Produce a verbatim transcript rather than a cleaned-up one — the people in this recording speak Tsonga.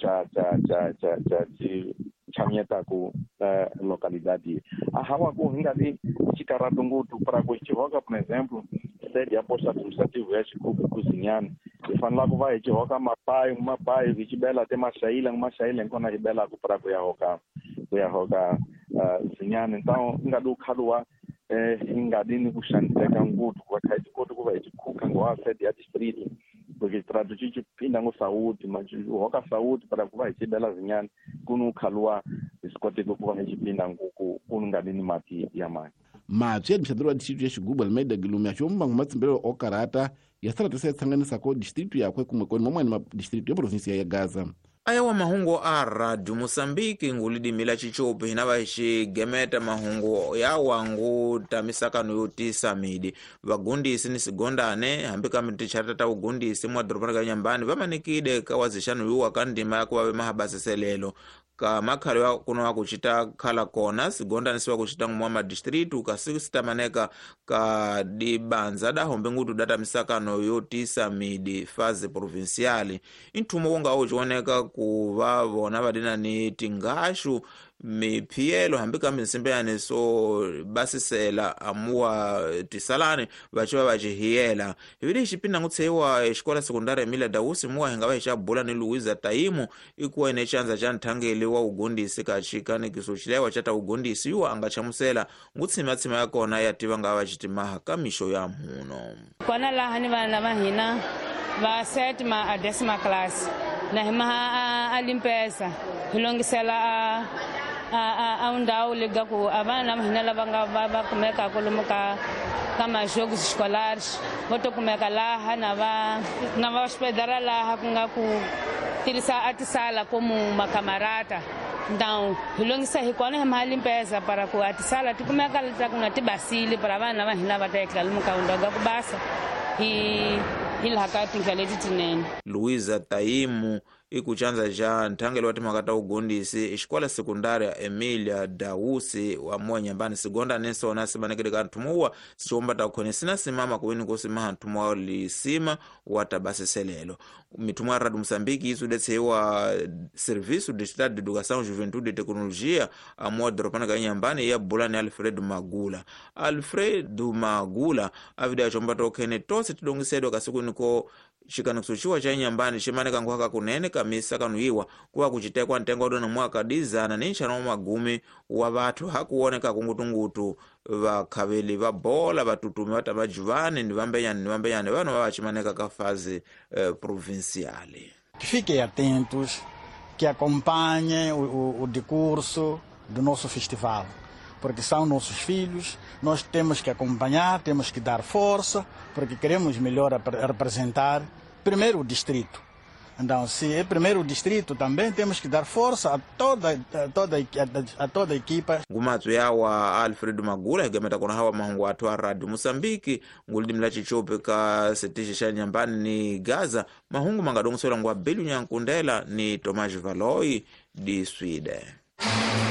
cha cha cha cha cha ci chamyetaku uh, localidade a hawa ku hingali xikaratu nguthu para ku xihoka, por exemplo, sede ya posto administrativo ya Xigubu kuzinyani hi fanela ku va hi xihoka mapayi mapayi hi xibela te maxayila maxayila nkona hi belaku para ku ya hoka ku ya hoka uh, zinyani. Então ingadi ukhaluwa eh ingadi ni ku xaniseka nguthu ku va kha hi koti ku va hi xikhuka ngowa sede ya distrito porque traduzir pinda ngo saúde mas hoka saúde para ku va hi xibela zinyani kunu ukhaluwa hi swi koteke ku va hi xipinda nguku kunu ngadi ni mati ya mani. Mapya administrador wa distrito ya Xigubu Almeida Gilume axomba ngumatsimbelo okarata ya sala tsanganisako distrito yakwe kumwe koni mamwani ma distrito ya provinsia ya Gaza. Ayawa mahungu a Radio Mosambiki ngulidimila chichopi hinava xigemeta mahungu ya wangu tamisakano yo tisa midi vagundisi ni sigondane hambi kambi ticharata ta ugundisi mwa dorobani ka Nyambani vamanikide ka wazixano yuwa ka ndima ya kuva vemahabaseselelo ka makhalo ya kuno wa kuchita khala kona sigondane siwa kuchita ngumwa madistritu kasi sitamaneka ka dibanza dahombe ngutu data misakano yo tisa midi faze provinciali inthumo wonga uchioneka kuva vona vadina ni tingashu miphiyelo hambi kambi nsimbeyane so basisela amuwa tisalani vachiva vachihiyela hivili xipinda ngutseiwa xikola sekundari Emilia Dausi muwa hinga va xabula ni Luiza Taimu ikuwa ine chanza cha nthangeli wa ugundisi ka xikanikiso xilewa cha ta ugundisi yuwa anga chamusela ngutshimatsima ya kona ya tiva nga va xitimaha ka mixo ya mhuno kona laha ni vana va hina va sétima a décima classe na himaha a limpeza hi longisela a a a ndhawu liga ku a vana va hina lava nga va va kumeka lomu ka ka majogos escolares vo to kumeka laha na va na va hospedara laha ku nga ku tirhisa a tisala como macamarata. Então hi longisa hi kona hi maha limpeza para ku a tisala ti kumeka leta ku nga ti basile para vana va hina va ta etlela lomu ka ndhawu ku basa hi hi laha ka tindlela leti tinene. Luiza Taimu ikuchanza ja nthangelo wa timhaka ta ugundisi xikola sekundari ya Emilia Dausi wa moya Nyambani sigonda nesona simanekele ka nthumuwa sixiomba ta khone sina simama kuwini kusimaha nthumo wa lisima wa tabasiselelo mithumo ya Radio Mosambiki isudetseiwa Serviço de Estado de Educação Juventude e Tecnologia amuwa doropana ka Nyambani ya bulani Alfredo Magula. Alfredo Magula avida xomba ta ukhene tose tidongisedwa kasikwini ko xikanikiso xiwa xa Nyambani ximaneka nkuhaka kunene kamisa kanuiwa kuva kucitekwa ntengo dona mwaka dizana ni nxana wa magumi wa vathu hakuoneka kungutungutu vakhaveli va bola vatutumi va ta vajuvani ni vambenyani ni vambenyani vanhu va va ximaneka ka faze eh, provinciale. Fiquem atentos, que acompanhem o, o, o decurso do nosso festival, porque são nossos filhos, nós temos que acompanhar, temos que dar força, porque queremos melhor representar primeiro o distrito. Então, se é primeiro o distrito, também temos que dar força a toda a toda a, a toda a equipa. Ngumatsu yawa Alfredo Magula higameta kona hawa mahungu athu a Radio Mosambiki ngulidimila chichope ka setishi xa Nyambani ni Gaza mahungu mangadongoselwa ngwa Belu Nyankundela ni Tomás Valoi di Sweden.